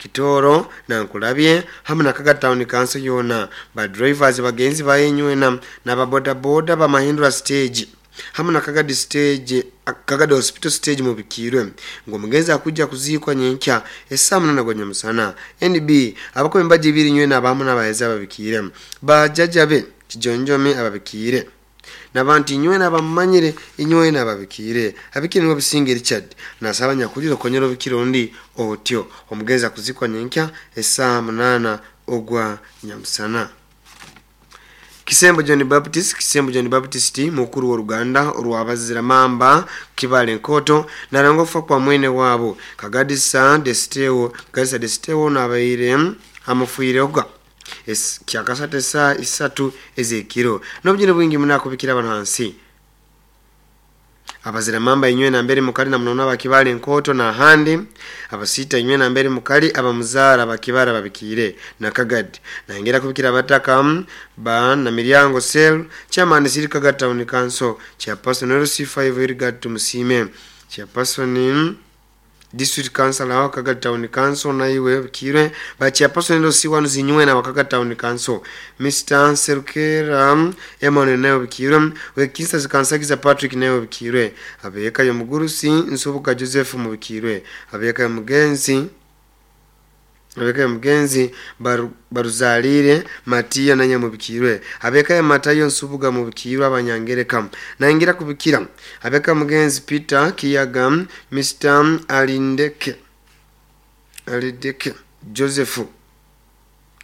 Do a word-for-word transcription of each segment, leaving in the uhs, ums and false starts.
Kitoro Nankulabye hamu na Kagadi Town Council yoona ba drivers bagenzi bayenywena n'ababodaboda bamahindura stage hamu na Kagadi stage, Kagadi Hospital stage mubikirwe ngo omugenzi akujja kuziikwa nyenkya essaawa munaana gwa nyamusana. N B abakuba embaji ibiri nywena abamu n'abaheeza ababikiire bajjajja be Kijonjomi ababikiire nabantu inywena abamumanyire inywena ababikiire abikire niwe Businge Richard nasaba nyakulira okonyera obikire ondi otyo omugenzi akuzikwa nyenkya essaawa munaana ogwa nyamusana. Kisembo John Baptist, Kisembo John Baptist mukuru wa Uganda orwabazira mamba Kibale Nkoto narangwa kufa kwa mwene wabo Kagadisa Desteo, Kagadisa Desteo nabaire amufuireoga es kyakasate saa isatu ezekiro nobujine bwingi munakubikira abantu hansi abazira mamba inywe na mbere mukali na mnona bakibale Nkoto na handi abasita inywe na mbere mukali abamuzara bakibara babikire na Kagadi naingera kubikira abataka ba na Miryango Cell chairman Siri Kagadi Town Council chairperson L C five Irigad Tumusime chairperson District Council wa Kagadi Town Council na iwe bikire ba chairperson L C one zinywe na Kagadi Town Council Mister Serukera Emmanuel nayo bikire we Kinsa Kansagiza Patrick nayo bikire abeka yo mugurusi Nsubuka Joseph mubikire abeka yo mugenzi abeka yo mugenzi baru, baruzalire Matia nanya mubikirwe abeka ya Matayo Nsubuga mubikirwe abanyangereka naingira kubikira abeka mugenzi Peter Kiyaga Mister Alindeke Alindeke Joseph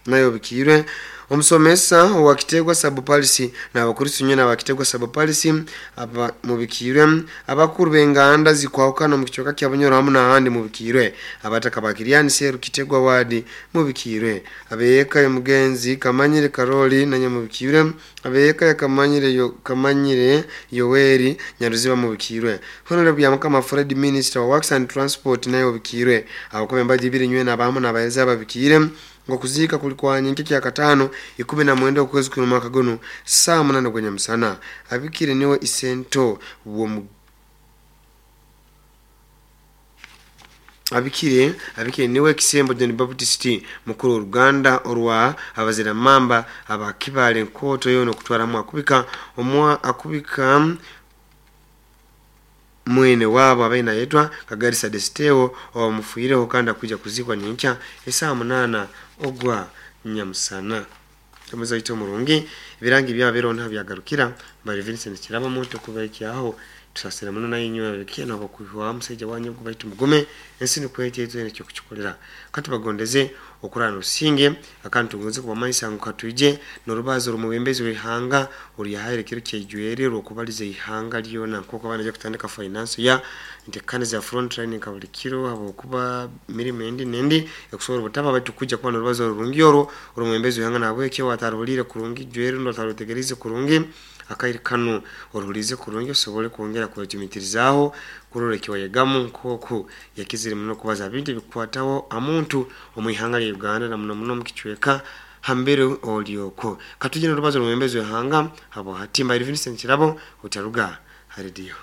nayo bikirwe omusomesa wa Kitegwa Sub-Policy na abakurisu nyena wa Kitegwa Sub-Policy aba mubikirwe abakuru benganda zikwahukana mu kichoka kya Bunyoro hamu na handi mubikirwe abataka bakiriani Seru Kitegwa wadi mubikirwe abeka ya mugenzi Kamanyire Karoli na nyamubikirwe abeka ya Kamanyire yo Kamanyire Yoweri Nyaruziba mubikirwe Honorable Yamukama Fred Minister wa Works and Transport nayo bikirwe abakombe mbaji ibiri nywena abamu n'abaeza babikire ngo kuzika kulikuwa nyingi kya katano ikumi na mwenda okwezi kuno mwaka gono saa munane gwa nyamusana abikire niwe isento wo abikire abikire niwe Kisembo John Baptist mukuru Uganda orwa abazira mamba abakibale Nkoto yono kutwaramu akubika omwa akubika mwene wabo abaina yetwa Kagarisa Desteo omufuireho kanda kuja kuzikwa nyenkya esaa munana ogwa nyamusana. Kamaza ito murungi ibirangi bya birona byagarukira bari Vincent Kiraba moto kubaikyaho tusasira muno nayinywa bikiye nabo kuhwa musajja wanyu kubaitu mugume ensi nikwete ezo ecyo kukikolera kati bagondeze okurana usinge akantu ngonze kuba maisa ngo katuje norubazo rumubembezi wihanga uri yahaire kiro cyejwere rokubalize ihanga lyona nkoko abana je kutandika finance ya ntekane za front line kabuli kiro abo kuba mirimo endi nendi ekusobola butaba batu kuja kuba norubazo rurungi oro rumubembezi wihanga nabwe cyo watarulire kurungi jwere ndo tarutegerize kurungi akairi kanu orulize kurungi osobole kwongera kwetumitirizaho kurorekewa yegamu nkoko yakizire muno kubaza bintu bikwataho amuntu omwihanga lya Uganda na muno muno mukichweka hambere olyoko katujina rubazo rumwembezi wehanga abo hatimba Vincent Kirabo utaruga haridio.